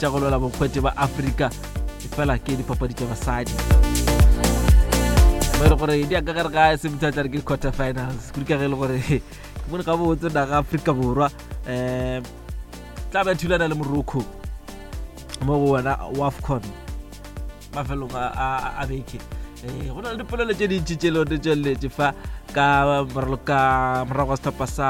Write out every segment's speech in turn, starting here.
tša go lwela bokgwete ba Afrika fela ke dipapadi tša basadi mo e le gore di ya ka gare ga se motho a tla re ke quarter finals kudu ka ge e le gore ke bone gabotse naga Afrika Borwa um tla ba thulana le Morocco mo go wena wafcon mafelong a beke um go na le dipolelo tše dintši tše le tšweleletše fa ka morago ga setlhopha sa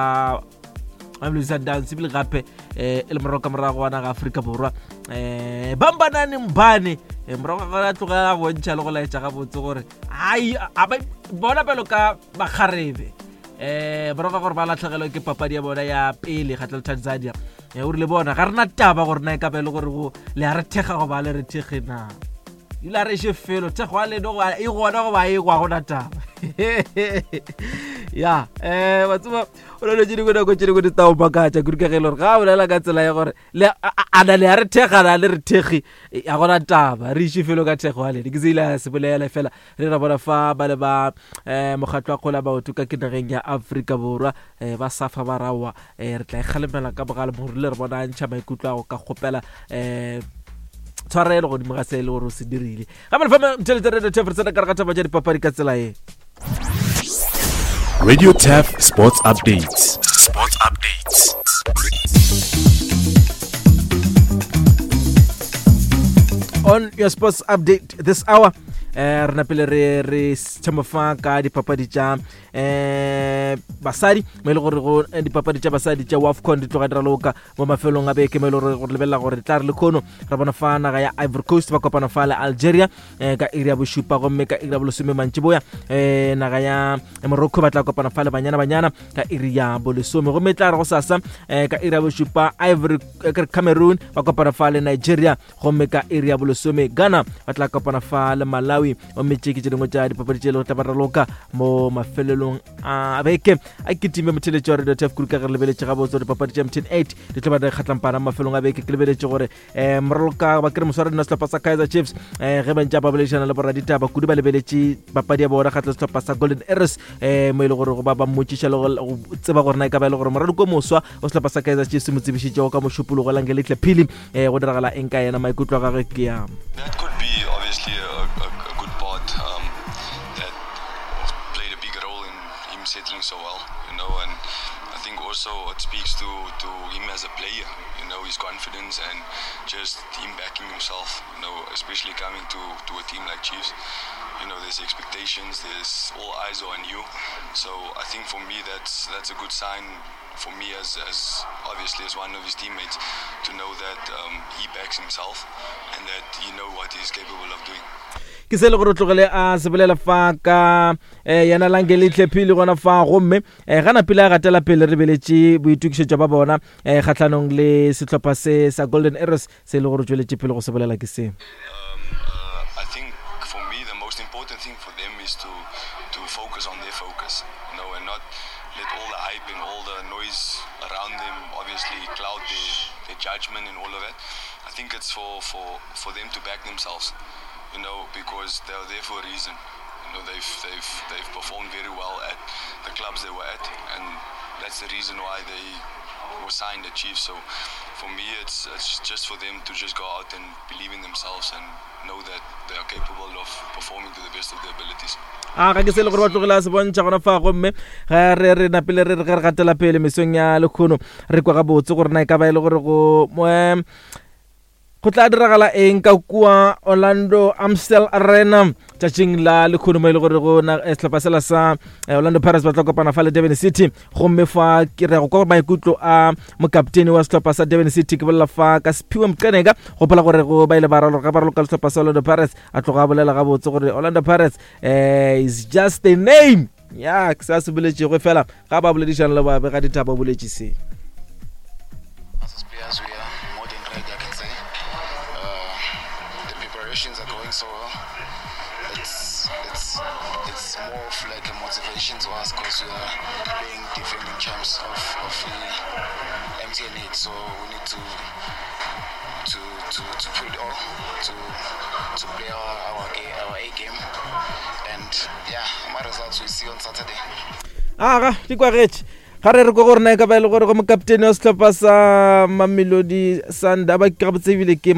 Mamelodi Sundowns ebile gape um e le morago ka morago wa naga Afrika Borwa um bambanane mbane eh, morago ga gore a tloga a bontšha le go laetša gabotse gore ai bona pelo ka bakgarebe um morago ga gore ba latlhegelwe ke papadi ya bona ya pele kgatlha le Tanzania um o rile bona ga rena taba gore na e ka ba e le gore go le a re thekga goba le re thekge na ile a re še felo thekgo ya leno e gona goba e kwa gona taba ya um wa tseba o na le tše dingwe nako tše dingwe di tao makatša kudu ka ge e le gore ga a bolela ka tsela ya gore a na le a re thekga na le re thekgi a gona taba re iše felo ka thekgo ya lene ke se ile a se bolela fela re ra bona fa ba le ba um mokgatlo wa kgola maoto ka ke nageng ya Afrika Borwa um ba safa ba rawa um re tla e kgalemela ka bogale mo rile re bona a ntšha maikutlo a go ka kgopela um tshwarelo godimo ga se e le gore o se dirile gape lefa mtheletsa radio tef re tsena ka re ga taba tša dipapadi ka tsela ye Radio Tef Sports Updates. Sports Updates. On your sports update this hour eh re napele re re thoma fa ka dipapadi tša eh basadi mo e le gore go eh, dipapadi tša basadi tša wafcon di tloga di raloka mo mafelong a beke mo e le gore gore lebelela gore tla re le khono re bona fa naga ya ivory coast ba kopana fa le algeria eh, ka iri ya bošupa gomme ka iri ya bolesome mantšiboya eh, naga ya morocco ba tla kopana fa le banyana banyana ka iri ya bolesome gomme tla re go sasa eh, ka iri ya bošupa ivory eh, cameroon ba kopana fa le nigeria gomme ka iri ya bolesome ghana ba tla kopana fa le malawi gomme tše ke tše dingwe tša dipapadi tše le go tla ba raloka mo mafelelong a beke a kitime motheletši wa radio tf kudu ka ge re lebeletše gabotse gore dipapadi tša mtn 8 di tlo ba di kgatlampana mo mafelong a beke ke lebeletše gore um moraloka ba kere mosware dina sehlopha sa kaizer chiefs um ge ba ntše ba boledišana le boraditaba kudu ba lebeletše papadi ya bona kgatla sehlopha sa golden arrows um mo e le gore go ba ba mmotšiša le go tseba gore na e ka ba e le gore moraloko moswa o sehlopha sa kaizer chiefs mo tsebišitšego ka mošupologo langelitle phili um go diragala eng ka yena maikutlo a gagwe ke ya That could be obviously a, a, a good part um, that played a big role in him settling so well, you know, and I think also it speaks to, to him as a player, you know, his confidence and just him backing himself, you know, especially coming to, to a team like Chiefs. You know, there's expectations, there's all eyes are on you. So I think for me that's that's a good sign for me as, as obviously as one of his teammates to know that um, he backs himself and that he know what he's capable of doing. ke se le gore o tlogele a se bolela fa ka eh, yena langelihle phele gona fa gomme eh, gana pele a gatela pele re beletše boitokišetšo ba bona eh, kgahlanong le sehlopha se sa golden arrows se e le gore tšweletše pele go se bolela ke se um, uh, I think for me the most important thing for them is to to focus on their focus you know and not let all the hype and all the noise around them obviously cloud their, their judgment and all of that I think it's for, for, for them to back themselves you know because they're there for a reason you know they've they've they've performed very well at the clubs they were at and that's the reason why they were signed at Chiefs so for me it's it's just for them to just go out and believe in themselves and know that they are capable of performing to the best of their abilities. A ga ke se le gore ba tlogile a se bontšha gona fa gomme ge re re napile re re ge re gatela pele mesong ya lekgono re kwa gabotse gore na e ka ba e le gore go um Go tla diragala eng ka kua Orlando Amstel Arena tšatšing la lekgono mo e le gore go na eh, sehlopha sela sa eh, Orlando Pirates ba tla kopana fa le Durban City gomme fa ke re go kwa maikutlo a mokaptene wa sehlopha sa Durban City ke bolela fa ka Siphiwe Mqeneka gopola gore go ba ile ba raloka ba raloka le sehlopha sa Orlando Pirates a tloga a bolela gabotse gore Orlando Pirates eh, is just a name ya ke se a se boletšego fela ga ba boledišana le babega ditaba o boletše se As players, we are more than ready, I can say. Uh, the preparations are going so well. It's, it's, it's more of like a motivation to us because we are being defending champs of, of the MTN 8, so we need to to to, to put it all to to play our our, our A game and yeah my results we see on Saturday. Aga di kwagetše ga re re ko gore na e ka ba e le gore go mokaptene wa sehlopha sa Mamelodi Sundowns ba ke gabotse ebile ke